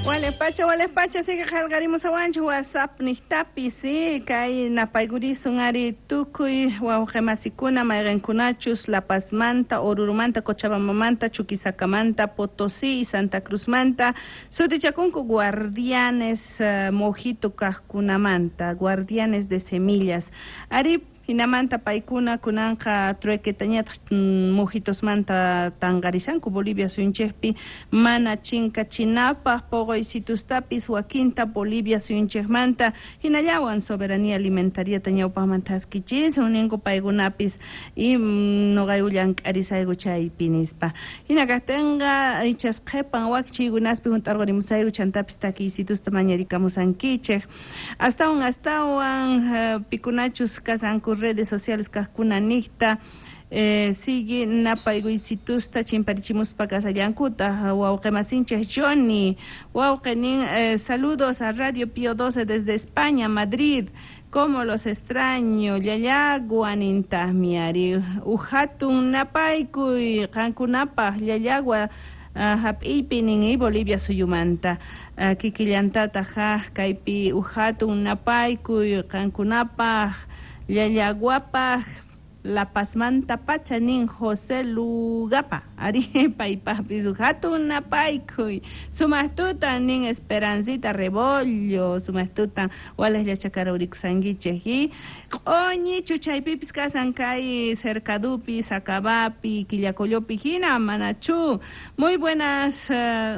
Walej pacha, sigue qillqarimusawanchik WhatsApp niqtapi, sí, kay napaykurisun ari tukuy wawqimasikuna mayqinkunachus La Pazmanta, Orurumanta, Cochabambamanta, Chuquisacamanta, Potosí y Santa Cruzmanta sutichakunku guardianes mojito kaqkunamanta, guardianes de semillas. Ari hinamanta paykuna kunanqa truequetañataq mojitosmanta tanqarishanku Bolivia suyunchikpi mana chinkachinapaq poqoysitustapis wakinta Bolivia suyunchikmanta hinallawan soberanía alimentariata ñawpaqmanta haskichisun ninku paykunapis y noqayku llank'arisayku chaypi nispa. Hina kaqtinqa ichas qhipan wakchiykunaspi hunt'arqurimusayku chantapis takiysitusta mañarikamusankichik. Astawan pikunachus kasanku redes sociales kaqkuna niqta sigue napaykuysitusta chimparichimuspa kasallankuta wawqimasinchik Johnny wawqinin saludos a Radio Pío 12 desde España, Madrid. Como los extraño, llallagua nintaqmi ari uhatun napaykuy qankunapaq llallagua hap'iypi nin Bolivia suyumanta kikillantataq kaypi uhatun napaykuy qankunapaq llallaguapaq La Pazmanta pacha nin José Lugapa ari paypaqpis hatun napaykuy sumaqtuta nin Esperancita Rebollo sumaqtuta walej llachakaraurikusankichik y q'oñichu chaypipis kasan kay Cercadupi, Sacabapi, Quillacollopi hina manachu. Muy buenas,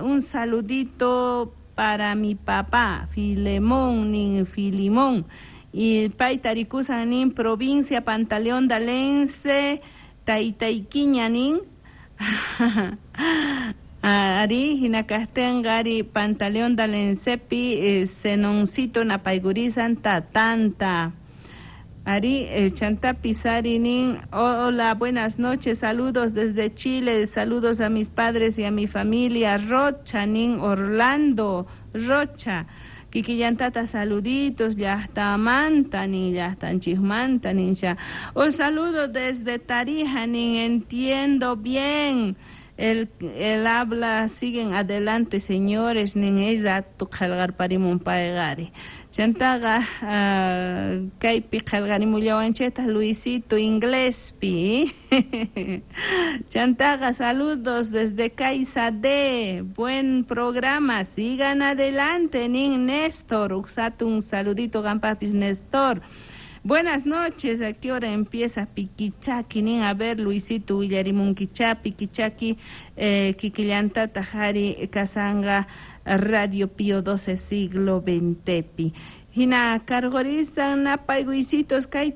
un saludito para mi papá Filemón nin Filimón y payta rikusan nin provincia Pantaleón Dalense Taytaykiña nin ari hina kaqtinqa ari Pantaleón Dalensepi Zenoncito napaykurisan tatanta. Ari chantapis ari nin hola, buenas noches, saludos desde Chile, saludos a mis padres y a mi familia Rocha nin Orlando Rocha. Kikillantata saluditos, llaqtamanta nin llaqtanchikmanta nin ya. Un saludo desde Tarija nin entiendo bien. El habla, siguen adelante señores, nin ella qillqarparimun payqari. Chantaqa kaypi qillqarimullawanchiktaq Luisito inglespi. Chantaqa saludos desde Caiza D, buen programa, sigan adelante nin Néstor, uqsatun saludito qampapis Néstor. Buenas noches, ¿a qué hora empieza Piquichaqui? Nin, a ver, Luisito willarimunkicha, Piquichaqui, kikillantata hari kasanga Radio Pío 12 siglo XXpi. Hina karqurisan napaykuisitos kay.